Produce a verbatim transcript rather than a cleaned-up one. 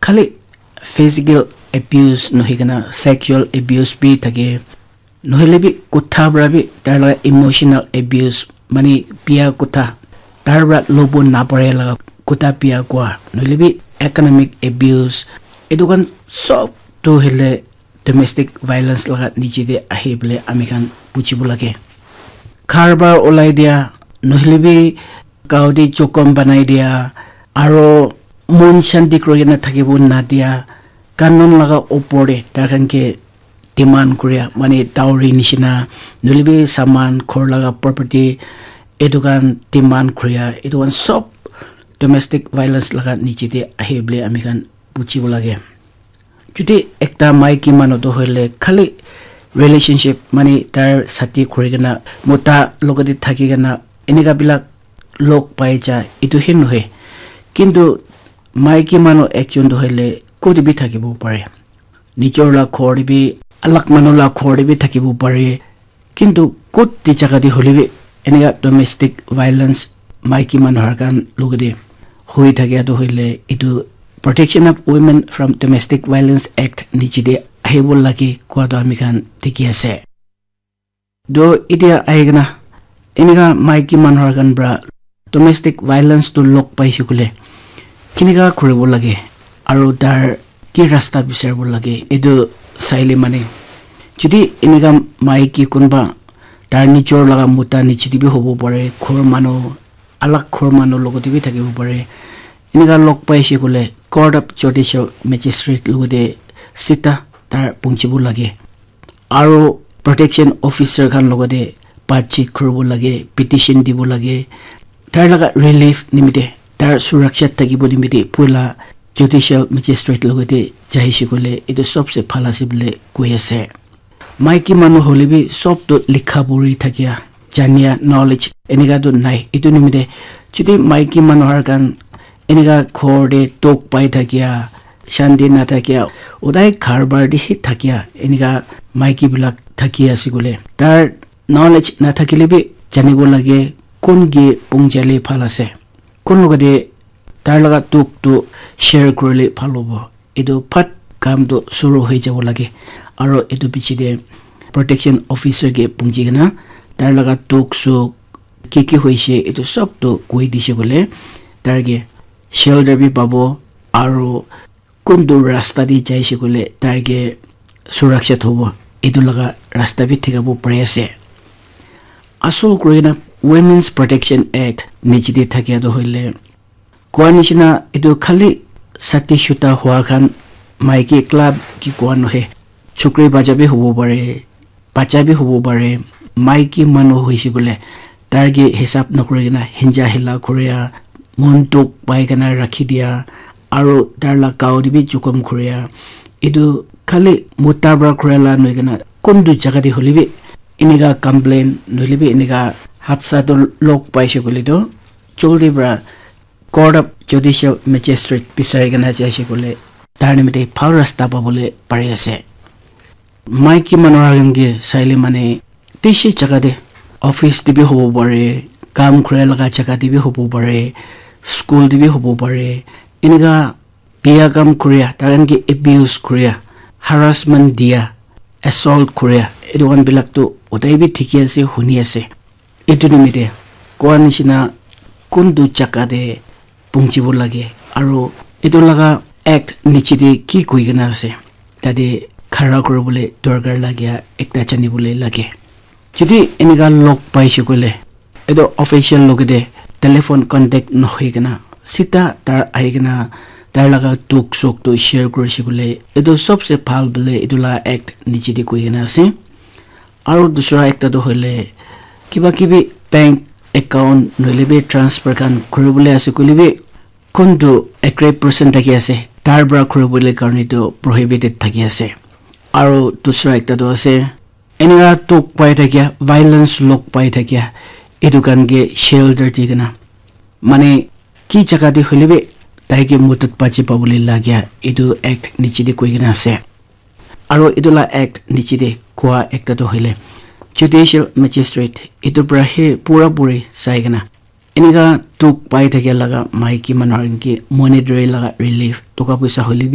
khali physical abuse nohoi kena sexual abuse bi thake, nohoile bi kotha para bi tar laga emotional abuse, mane bia kotha, tar para lobo napare laga kotha bia koa, nohoile bi economic abuse, etu khan sob tu hoile domestic violence laga niche te ahi bole ami khan bujibo lage. Ghar bar olai dia, nohoile bi gao te jokhom banai dia, aro mon shanti kuri kena thakibo nadia, kanun laga opor te tar khan ke demand kuria, mane dowry nishina, nohoile bi saman, ghor laga property, etu khan demand kuria, etu khan sob domestic violence laga niche te ahi bole ami khan bujibo lage. Jodi ekta maiki manu tu hoile khali relationship, mane tar sati kuri kena, mota logote thaki kena, eneka bilak log pai ja, etu he nohoi. Kintu maiki manu ekjon tu hoile koti bi thakibo pare. Nijor la ghor te bi, alag manu la ghor te bi thakibo pare. Kintu kot te jaga te hoile bi eneka domestic violence maiki manu khan logote hoi thakia tu hoile etu Protection of Women from Domestic Violence Act niche te ahibo lage koa tu ami khan dikhi ase. To etia ahi kena eneka maiki manu khan para domestic violence tu log paise koile keneka kuribo lage aru tar ki rasta bisaribo lage, etu saile mane jodi eneka maiki kunba tar nijor laga mota niche te bi hobo pare, ghor manu, alag ghor manu logote bi thakibo pare, eneka log paise koile Court of Judicial Magistrate logote sita tar punchibo lage. Aro protection officer khan logote batchit kuribo lage, petition dibo lage, tar laga relief nimite, tar suraksha thakibo nimite poila judicial magistrate logote jaise koile etu sobse bhal ase bole koi ase. Maiki manu hoile bi sob tu likha puri thakia, jania, knowledge eneka tu nai. Etu nimite jodi maiki manu khan eneka ghor te dukh pai thakia, shanti na thakia, udai ghar bar te hi thakia, eneka maiki bilak thaki ase koile, tar knowledge na thakile bi janibo lage, kun ke pungjale bhal ase, kun logote tar laga dukh tu share kurile bhal hobo. Etu phat kam tu shuru hoi jabo lage, aro etu piche te protection officer ke punchi kena tar laga dukh sukh ki ki hoise etu sob tu koi dise koile tar ke shelter bi pabo, aro kuntu rasta te jaise koile tar ke suraksha thobo, etu laga rasta bi thikabo pari ase. Asol kuri kena Women's Protection Act niche te thakia tu hoile koa nishina etu khali sati shuda hua khan maiki club ki koa nohe, chukri bacha bi hobo pare, bacha bi hobo pare, maiki manu hoise koile tar ke hisab nokuri kena hinja hila kuria, mon dukh pai kena rakhi dia, aro tar la gao te bi jukham kuria. Etu khali mota para kura la nohoi kena kuntu jaga te hoile bi eneka complain nohoile bi eneka hadsa tu log paise koile tu joldi para Court of Judicial Magistrate bisari kena jaise koile tar nimite bhal rasta pabole pari ase. Maiki manu khan ke saile mane bishi jaga te, office te bi hobo pare, kam kura laga jaga te bi hobo pare, school te bi hobo pare, eneka bia kam kuria, tar khan ke abuse kuria, harassment dia, assault kuria, etu khan bilak tu udai bi dikhi ase, huni ase. Etu nimite koa nishina kuntu jaga te punchibo lage, aro etu laga act niche te ki koi kena ase, tate khara kuribole dorkar lagia ekta janibole lage. Jodi eneka log paise koile, etu official logote telephone contact nohoi kena sita tar ahi kena tar laga dukh sukh tu share kurise koile, etu sobse bhal bole etu la act niche te koi kena ase. Aro dusra ekta tu hoile kiba kibi bank account nohoile bi transfer khan kuribole ase koile bi kuntu aggrieved person thaki ase, tar para kuribole karne tu prohibited thaki ase. Aro dusra ekta tu ase, eneka dukh pai thakia, violence log pai thakia, etu khan ke shelter di kena, mane ki jaga te hoile bi tai ke madad bachi pabole lagia, etu act niche te koi kena ase. Aro etu la act niche te koa ekta tu hoile, judicial magistrate etu para he pura puri sai kena, eneka dukh pai thakia laga maiki manu khan ke monetary laga relief, toka poisa hoile bi